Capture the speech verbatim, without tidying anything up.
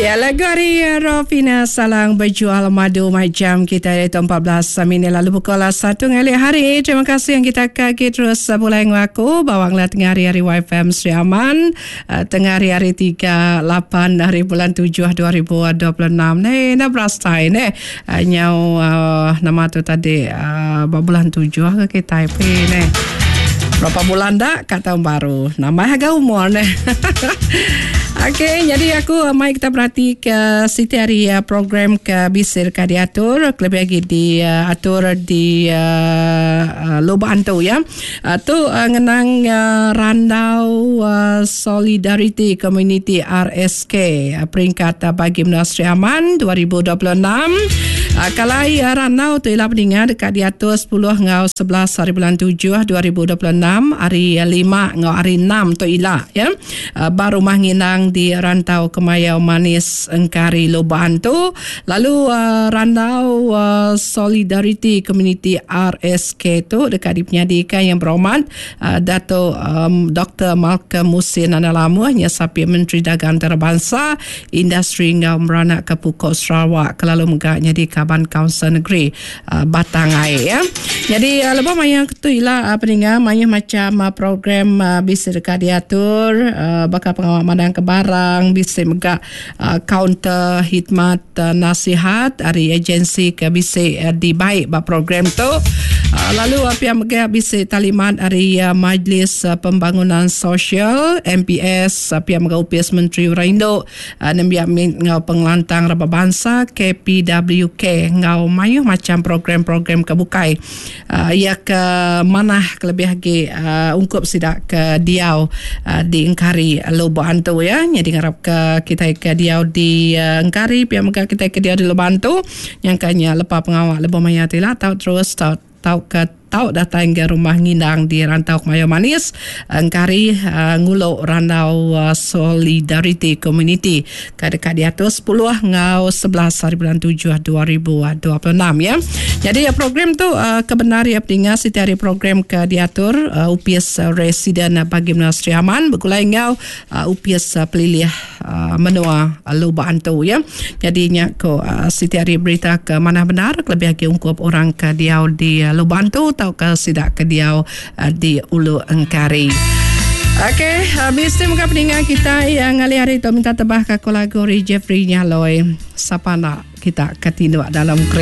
Ya, lagu ari Rofina Salang Bejual Madu macam kita itu empat belas minit lalu pukul satu ngalih hari. Terima kasih yang kita kaki terus mulai ngaku bawang lah tengah hari hari Y F M Sri Aman tengah hari hari tiga lapan hari bulan tujuh dua ribu dua puluh enam ni nak berasai ni nyau nama tu tadi bulan tujuh ke kita ni. Berapa bulan dah kat tahun baru. Nambah harga umur ni. Okey, jadi aku mai kita berhati ke siti hari program ke bisir ke diatur, lebih lagi diatur di uh, Lubuk Antu ya. Uh, tu uh, ngenang uh, Randau uh, Solidarity Community R S K uh, peringkat uh, bagi Menua Sri Aman dua ribu dua puluh enam. Uh, kalau uh, Randau tu ialah peninggal dekat diatur sepuluh ngau sebelas hari bulan tujuh dua ribu dua puluh enam hari lima ngau hari enam tu ialah ya. Uh, baru rumah nginang di Rantau Kemayau Manis Engkari Lubuk Antu. Lalu uh, Randau uh, Solidarity Community R S K tu dekat dipenyadikan yang berhormat uh, Dato' um, Doktor Malcolm Musin Analamuh nya sapi Menteri Dagang Antarabangsa Industri ngau meranak ke Pukul Sarawak kelalu megaknya di Kaban Kaunsil Negeri uh, Batang Ai ya. Jadi uh, lebih maya tu ialah uh, peninggal maya macam uh, program uh, bisa dekat diatur uh, bakal pengawal mandang ke barang bisa megak uh, kaunter khidmat uh, nasihat dari agensi ke bisa uh, dibaik bab program tu. Uh, lalu apa yang megak bisa talimat dari uh, Majlis uh, Pembangunan Sosial M P S apa yang megak U P S Menteri Uraindo uh, nembiak ngau pengelantang raba bangsa K P W K ngau mayuh macam program-program kebukai uh, ia ke manah kelebih lagi uh, ungkup sidak ke diau uh, di Engkari Lubuk Antu ya. Jadi ngarap ke kita ke diau di uh, Engkari pihak megak kita ke diau di Lubuk Antu yang kanya lepa pengawal lebih maya tila tau terus tau tau ke tau datang ke rumah ngindang di Rantau Kemayau Manis Engkari uh, nguluk Randau uh, Solidarity Community ke dekat di atas sepuluh ngau sebelas hari bulan tujuh dua ribu dua puluh enam ya. Jadi uh, program tu uh, kebenar ya pendengar setiap hari program ke diatur uh, U P S uh, Residen uh, bagi Menua Sri Aman bergulai ngau uh, U P S uh, Pelilih uh, Menua uh, Lubuk Antu ya. Jadinya ko uh, setiap hari berita ke mana benar lebih lagi ungkup orang ke diau di uh, Lubuk Antu atau ke sidak ke diau uh, di Ulu Engkari. Okey, habis tu muka pendengar kita yang ngalih hari tu minta tebah ke lagu Jeffrey Nyaloi. Siapa nak kita ketinduk dalam kereta.